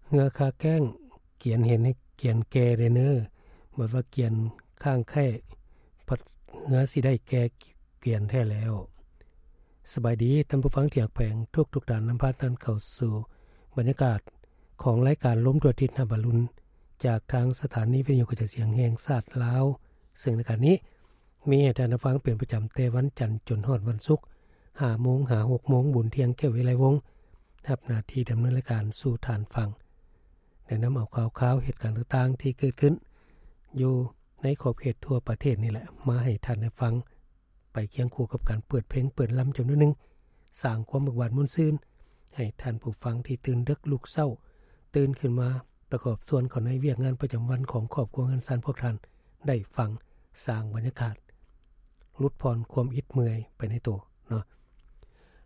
ເຮືອຄາແກ້ງ ກຽນເຫັນໃຫ້ກຽນແກ່ເດີເນີ ບໍ່ວ່າກຽນຄ້າງແຄ້ ພັດເຮືອຊິໄດ້ແກ່ກຽນແທ້ແລ້ວ. ສະບາຍດີທ່ານຜູ້ຟັງທີ່ຮັກແພງທຸກໆທ່ານ, ນຳພາທ່ານເຂົ້າສູ່ບັນຍາກາດຂອງລາຍການລົມທົ່ວທິດນະບາລຸນ ຈາກທາງສະຖານີວິທະຍຸກະຈາຍສຽງແຫ່ງຊາດລາວ, ເຊິ່ງລາຍການນີ້ ມີໃຫ້ທ່ານໄດ້ຟັງເປັນປະຈຳແຕ່ວັນຈັນຈົນຮອດວັນສຸກ ຫ້າໂມງຫາຫົກໂມງ. ບຸນທຽງ ແກ້ວວິໄລວົງ ຮັບໜ້າທີ່ດຳເນີນລາຍການສູ່ທ່ານຟັງ ແນະນຳເອົາຂ່າວຄາວເຫດການຕ່າງໆທີ່ເກີດຂຶ້ນຢູ່ໃນຂອບເຂດທົ່ວປະເທດນີ້ແຫຼະ ມາໃຫ້ທ່ານໄດ້ຟັງ ໄປຄຽງຄູ່ກັບການເປີດເພງເປີດລຳຈຳນວນໜຶ່ງ ສ້າງຄວາມເບີກບານມ່ວນຊື່ນໃຫ້ທ່ານຜູ້ຟັງທີ່ຕື່ນເດິກລຸກເຊົ້າ ຕື່ນຂຶ້ນມາປະກອບສ່ວນເຂົ້າໃນວຽກງານປະຈຳວັນຂອງຄອບຄົວເຮືອນຊານພວກທ່ານ ໄດ້ຟັງ ສ້າງບັນຍາກາດຫຼຸດຜ່ອນຄວາມອິດເມື່ອຍໄປໃນໂຕເນາະ.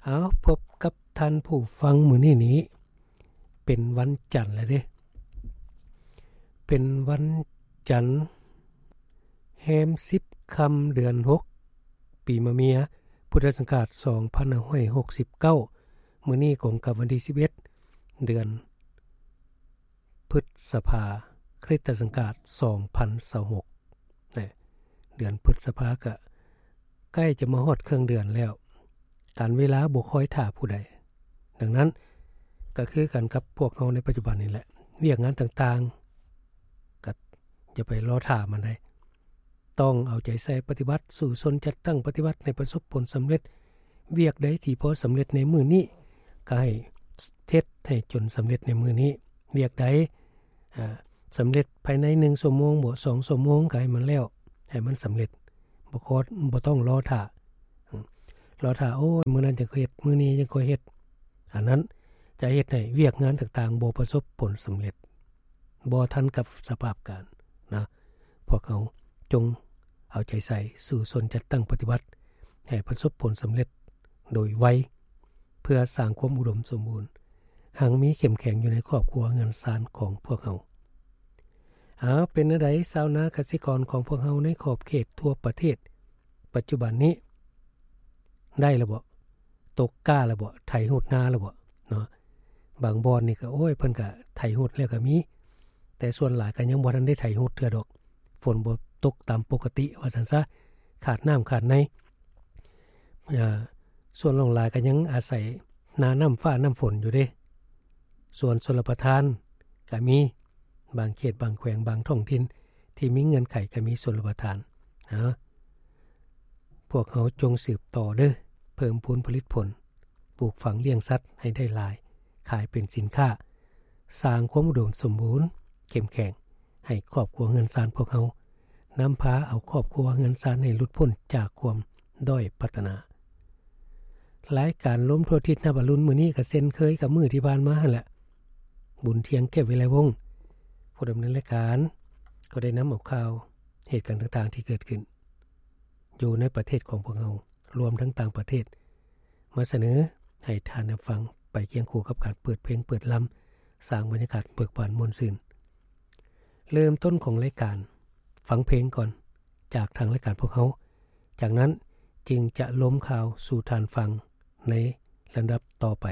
ເອົາ ພົບກັບທ່ານຜູ້ຟັງມື້ນີ້ນີ້ ເປັນວັນຈັນແລ້ວເດ້ ເປັນວັນຈັນ ແຮມສິບຄ່ຳເດືອນຫົກ ປີມະເມຍ ພຸດທະສັງກາດສອງພັນຫ້າຮ້ອຍຫົກສິບເກົ້າ ມື້ນີ້ກົງກັບວັນທີສິບເອັດ ເດືອນ ພຶດສະພາ ຄຣິສຕະສັງກາດສອງພັນຊາວຫົກ ແລະ ເດືອນພຶດສະພາກະໃກ້ຈະມາຮອດເຄິ່ງເດືອນແລ້ວ ການເວລາບໍ່ຄອຍຖ້າຜູ້ໃດ. ດັ່ງນັ້ນ ກະຄືກັນກັບພວກເຮົາໃນປັດຈຸບັນນີ້ແຫຼະ ວຽກງານຕ່າງໆ ກະຢ່າໄປລໍຖ້າມັນໃດ ຕ້ອງເອົາໃຈໃສ່ປະຕິບັດ ສູ້ຊົນຈັດຕັ້ງປະຕິບັດໃຫ້ປະສົບຜົນສຳເລັດ. ວຽກໃດທີ່ພໍສຳເລັດໃນມື້ນີ້ ກະໃຫ້ເຮັດໃຫ້ຈົນສຳເລັດໃນມື້ນີ້. ວຽກໃດ ອາ ສຳເລັດພາຍໃນໜຶ່ງຊົ່ວໂມງບໍ ສອງຊົ່ວໂມງ ກະໃຫ້ມັນແລ້ວ ໃຫ້ມັນສຳເລັດ. ບໍ່ຂໍ ບໍ່ຕ້ອງລໍຖ້າ ລໍຖ້າ ໂອ້ຍ ມື້ນັ້ນຈັ່ງຄ່ອຍເຮັດ ມື້ນີ້ຈັ່ງຄ່ອຍເຮັດ ອັນນັ້ນຈະເຮັດໃຫ້ວຽກງານຕ່າງໆບໍ່ປະສົບຜົນສຳເລັດ. ບໍ່ທັນກັບສະພາບການນະ. ພວກເຮົາຈົ່ງເອົາໃຈໃສ່ສູ້ຊົນຈັດຕັ້ງປະຕິບັດໃຫ້ປະສົບຜົນສຳເລັດໂດຍໄວ ເພື່ອສ້າງຄວາມອຸດົມສົມບູນ ຮັ່ງມີເຂັ້ມແຂງຢູ່ໃນຄອບຄົວເຮືອນຊານຂອງພວກເຮົາ. ເອົາ ເປັນແນວໃດຊາວນາກະສິກອນຂອງພວກເຮົາໃນຂອບເຂດທົ່ວປະເທດ ປັດຈຸບັນນີ້ ໄດ້ແລ້ວບໍ? ຕົກກ້າແລ້ວບໍ? ໄຖຮຸດນາແລ້ວບໍເນາະ? ບາງບ່ອນນີ້ກະ ໂອ້ຍ ເພິ່ນກະໄຖຮຸດແລ້ວກະມີ ແຕ່ສ່ວນຫຼາຍກະຍັງບໍ່ທັນໄດ້ໄຖຮຸດເທື່ອດອກ. ຝົນບໍ່ຕົກຕາມປົກກະຕິວ່າຊັ້ນຊະ ຂາດນ້ຳຂາດໃນ. ເອີ ສ່ວນຫຼວງຫຼາຍກະຍັງອາໄສໜ້ານ້ຳຟ້ານ້ຳຝົນຢູ່ເດ້. ສ່ວນຊົນລະປະທານກະມີ ບາງເຂດບາງແຂວງບາງທ້ອງຖິ່ນທີ່ມີເງື່ອນໄຂກະມີຊົນລະປະທານ. ເອົາ ພວກເຮົາຈົ່ງສືບຕໍ່ເດີ້ ເພີ່ມພູນຜະລິດຜົນ ປູກຝັງລ້ຽງສັດໃຫ້ໄດ້ຫຼາຍ ຂາຍເປັນສິນຄ້າ ສ້າງຄວາມອຸດົມສົມບູນເຂັ້ມແຂງໃຫ້ຄອບຄົວເຮືອນຊານພວກເຮົາ ນຳພາເອົາຄອບຄົວເຮືອນຊານໃຫ້ຫຼຸດພົ້ນຈາກຄວາມດ້ອຍພັດທະນາ. ລາຍການລົມທົ່ວທິດນະບາລຸນມື້ນີ້ກະເຊັ່ນເຄີຍກັບມື້ທີ່ຜ່ານມາຫັ້ນແຫຼະ ບຸນທຽງ ແກ້ວວິໄລວົງ ຜູ້ດຳເນີນລາຍການ ກໍໄດ້ນຳເອົາຂ່າວເຫດການຕ່າງໆທີ່ເກີດຂຶ້ນຢູ່ໃນປະເທດຂອງພວກເຮົາ ລວມທັງຕ່າງປະເທດ ມາສະເໜີໃຫ້ທ່ານໄດ້ຟັງ ໄປຄຽງຄູ່ກັບການເປີດເພງເປີດລຳ ສ້າງບັນຍາກາດເບີກບານມ່ວນຊື່ນ. ເລີ່ມຕົ້ນຂອງລາຍການ ຟັງເພງກ່ອນ ຈາກທາງລາຍການພວກເຮົາ, ຈາກນັ້ນຈຶ່ງຈະລົມຂ່າວສູ່ທ່ານຟັງໃນລຳດັບຕໍ່ໄປ.